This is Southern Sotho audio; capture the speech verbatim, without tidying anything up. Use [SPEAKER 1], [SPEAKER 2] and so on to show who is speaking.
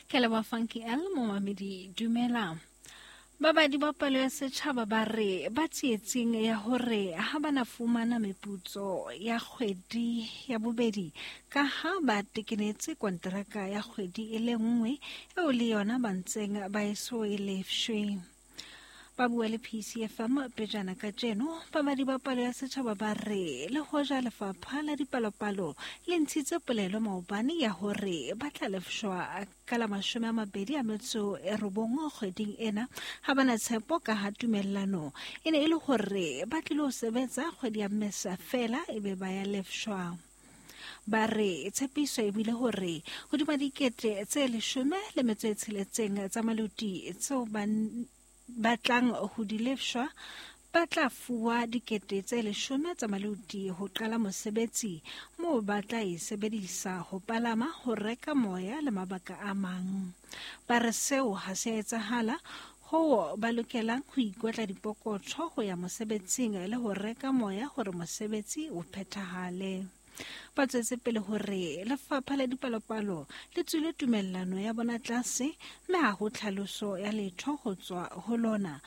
[SPEAKER 1] Ke leboha Funky L momamedi dumela. Babadi ba palo ya setjhaba ba re ba tsietsing ya hore ha ba na fumana meputso ya kgwedi ya bobedi ka ha ba tekenetse konteraka ya kgwedi e le nngwe eo le yona ba ntseng ba eso e lefshwe. Ba bua le P C F M pejana kajeno, babadi ba palo ya setjhaba ba re le hoja lefapha la dipalopalo le ntshitse polelo maobane ya hore ba tla lefshwa ka la mashome a mabedi a metso e robong kgweding ena, ha ba na tshepo ka ha tumellano e ne e le hore ba tlilo sebetsa kgwedi ya Mmesa feela ebe ba ya lefshwa. Ba re tshepiso e bile hore hodima dikete tse leshome le metso e tsheletseng tsa maluti tseo ba batlang ho di lefshwa ba tla fuwa dikete tse leshome tsa maluti ho qala mosebetsi moo ba tla e sebedisa ho palama, ho reka moya le mabaka a mang. Ba re seo ha se a etsahala hoo ba lokelang ho ikotla dipokotho ho ya mosebetsing le ho reka moya hore mosebetsi o phethahale. Ba tswetse pele hore lefapha la dipalopalo le tswile tumellano ya bona tlase mme ha ho tlhaloso ya letho ho tswa ho lona